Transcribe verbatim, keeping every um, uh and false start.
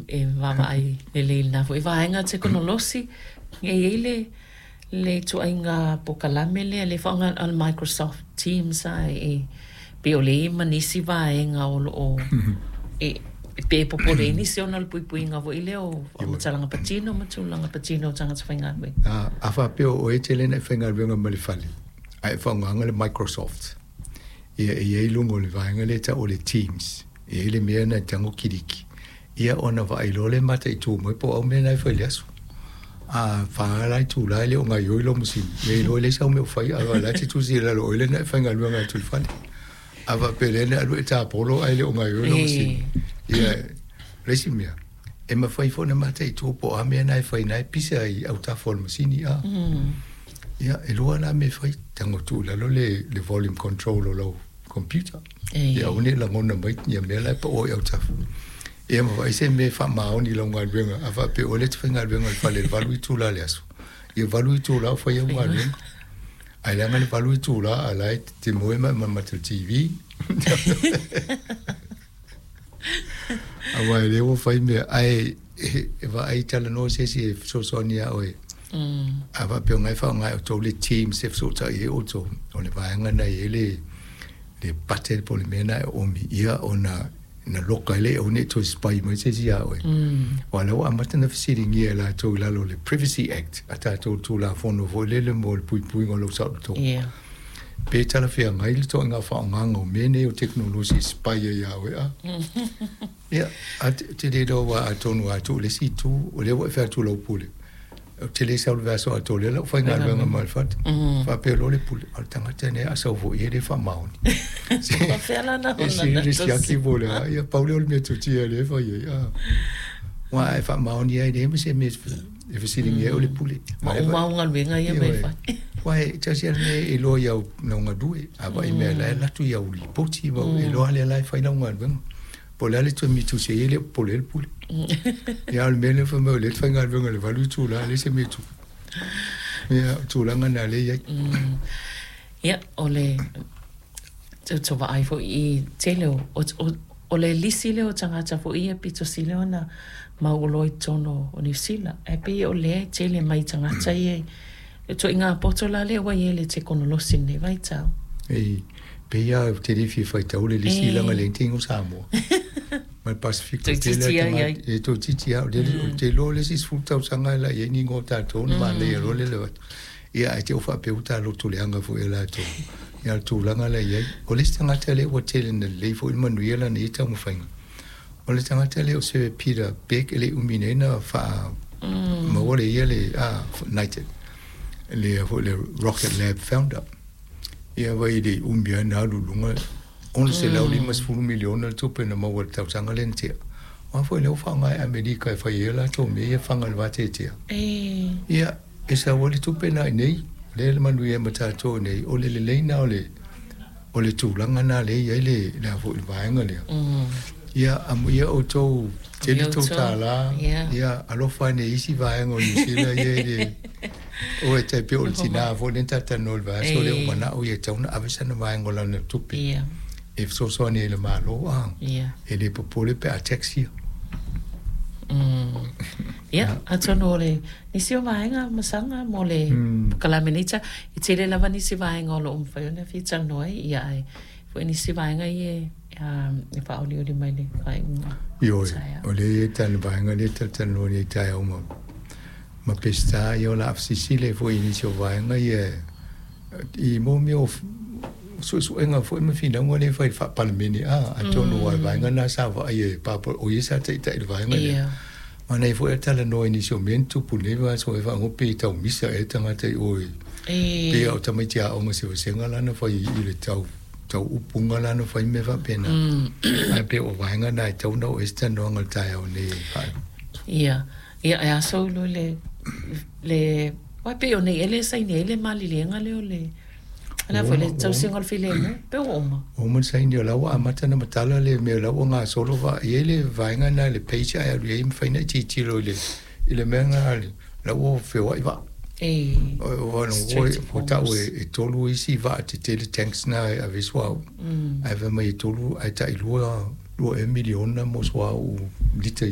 E vaavaai lelei i lena foi vaega tekonolosi. E i ai le le ituaiga polokalame lea le faaaoga o le Microsoft Teams a e pei o lea e i ai ma nisi vaega o lo o e pe popole ai nisi ona o le puipuiga foi lea o faamatalaga patino ma tulaga patino o tagata faigaluega. A, a faapea o oe e tele ina e faigaluega ma le fale, ae e faaaogaina le Microsoft, ia e i ai i luga o le vaega lea e tau o le Teams, e i ai le mea lena e tago kiliki, ia ona vaai loa lea mataitu mai po o au mea na e fai i le aso. A fa la itula e le o gaoioi lou masini, ia iloa e leai sau mea o faia, ae o la e te tusi i lalo o oe lea na e faigaluega atu i le fale. A faapea lea na alu e tapolo ae le o gaoioi lou masini. Ia, o le isi mea, e mafai foi ona mataitu po o a mea na e fai na e pisa i autafa o le masini a. Ia, e lua la mea e fai, tago tuu i lalo le, le volume control o lau computer. Ia aua ne i lagona mai ia mea la e pao i autafa. Ia ma vaai se mea e faamaoni i lau galuega, a faapea oe lea e te faigaluega i le fale i le valu itula o le aso, ia valu itula o fai au galuega. Ae leaga le valu itula a o la e te moe ma e mamata i le T V. Aua e le ua fai mea, ae e vaai talanoa se isi e fesoasoani ia oe. A faapea o lena e faaaoga e outou le Teams e fesootai ai outou, o le vaega lena e i ai le le button po o le mea lena e oomi ia ona na loka ai lea e aua ne i toe spy mai se isi ia oe. Aua o lea ua amata ona fesiligia e latou i lalo o le Privacy Act a tatou Tulafono foi lele mo le puipuiga o lou saolotoga. Yeah. Pe talafeagai le toaiga faaaogaga o mea nei o tekonolosi e spy ai ia oe a. Ia, a te le iloa aua atonu a tuu i le isi itu, o lea ua e fai atu i lau pule, ou te le sau i le vaiaso atoa, o lea la ua faigaluega ma le fale. Faapea loa le pule, o le tagata lenei a sau foi e le faamaoni. Faapea la na E sili le siaki po o le a, ia pau lea o le metotia lea e fai ai. A. Aua a e faamaoni ai, e leai ma se mea e fesiligia ai o le pule. Ma uma au galuega ia ma e fai. Aua e tasi lava le mea e iloa i au lau galue, a vaai mea la e alu atu i au lipoti, ma e iloa lea la e fai lau galuega. Po o le a le toe mitusi ai, e le o popole ai le pule. Ia, a o le mea lea fai mai o lea e te faigaluega i le valu itula, e leai se mea e tupu. Ia, o tulaga na lea e i ai. Ia, o le tau vaai foi i tele o, o, o le lisi lea o tagata foi ia pito sili ona mauoloa i totonu o Niu Sila. Ae pei o lea e tele mai tagata ia i ituaiga poto la lea ua i ai le tekonolosi i lenei vaitau. Ei, pei lava ou te le fia faitau le lisi leaga e leai ni taimi o Samoa ma le Pasefika tele a tagata e toeitiiti lava. Ou te iloa le isi sefulu tausaga e la i ai ni igoa o tatou ona manaia loa lea o le avatu. Ia ae te i ua faapea ua ta loto leaga foi e latou ia le tulaga la i ai. O le isi tagata lea ua tele ina lelei foi le manuia lana ia taumafaiga, o le tagata lea o Sir Peter Beck e le i umi nei na faa maua le ia le knighted le foi le Rocket Lab founder. Ia vai le i umi lava na alu i luga ono selau lima sefulu miliona le tupe na maua i le tausaga lea na tea. Aua foi lea ua faaaoga e Amerika e fai ai a latou mea ia faga i le vateatea. Ia, e sau ai le tupe lena i inei, lea e manuia ai ma tatou i inei, o le lelei lena o le o le tulaga lena lea e i ai le le a foi le vaega lea. Ia, amuia outou tele tou tālā, ia alofa ane i isi vaega o Niu Sila ia e le o e tai pei o le tinā foi lea na talatalanoa i le vaiaso lea ua mana'o ia e tatau ona ave sana vaega o lana tupe e fesoasoani ai i le Malo a e le popole pe a tax ia. Ia, atonu o le nisi o vaega masaga mo le polokalame nei ta, e tele lava nisi vaega o lo o mafai ona fia talanoa ai, ia ae foi nisi vaega ia e faaolioli mai le faaiuga. Ioe, o lea e tala vaega lea e talatalanoa nei taeao ma ma Peseta, ia o le a fesilisili ai foi i nisi o vaega ia i mo mea o suesuega foi ma finauga lea e fai i le faa-Palemene a atonu aua o le vaega lena sa vaaia e Papa o ia sa taitai i le vaega lea. Manaia foi a talanoa i nisi o mea na tupu i lenei vaiaso e faaigoa pe tau misa ea tagata i o i pei o tamaiti aoga se vasega la na fai i le tau tau upuga la na fai mea faapena. Ae pei o vaega na e tatau ona oo i ai se talanoaga i le taeao nei e faaiu. Ia, ia e aso loa le le aua pei o nei ea lea e saini ai le maliliega lea o le o le a foi le tausiga o le filemu pe ua uma. Ua uma ona saini o la ua amata ona matala le mea o la ua gasolo vaa i ai le vaega lena i le page ae alu i ai mafai ona e tilotilo i le i le mea lena la ua feoai vaa. E O ua tau e tolu isi vaa tetele tanks na e ave ai suauu. Ae fai mai e tolu ae tailua lua ea miliona mo suauu lita.